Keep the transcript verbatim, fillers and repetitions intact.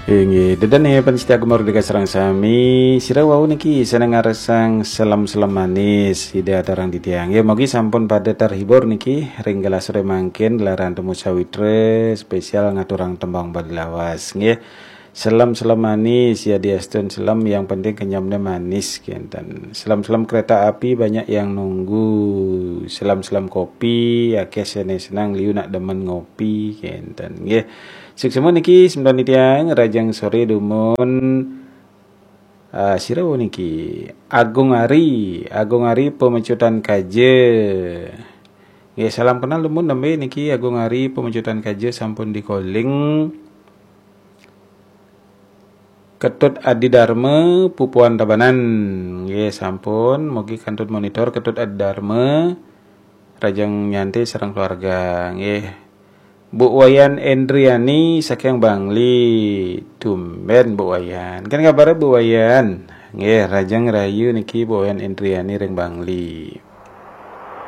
Inggih, dedene pencinta Gema Merdeka sareng sami, sira wau niki seneng ngarsang selem-selem manis, Ida aturang titiang. Ya, mugi sampun pada terhibur niki ring galah sore mangkin, laran temu sawitra spesial ngaturang tembang Bali lawas, nggih. Selem-selem manis, ya diastun selem, yang penting kenyamnya manis, kenten. Selem-selem kereta api banyak yang nunggu, selem-selem kopi, akeh sene senang liu nak demen ngopi, kenten, nggih. Suksma niki semeton titiang, rahajeng sore dumun, ah, sira niki, Agung Ari, Agung Ari Pemecutan Kaja. Nggih, salam kenal dumun, nembe niki Agung Ari Pemecutan Kaja sampun di-calling. Ketut Adi Dharma Pupuan Tabanan. Nggih, sampun, mugi kantun monitor Ketut Adi Dharma, rahajeng nyantai sareng keluarga, nggih. Bu Wayan Endriani saking Bangli. Tumben Bu Wayan. Kan kabare Bu Wayan? Nggih, rahajeng rahayu niki Bu Wayan Endriani ring Bangli.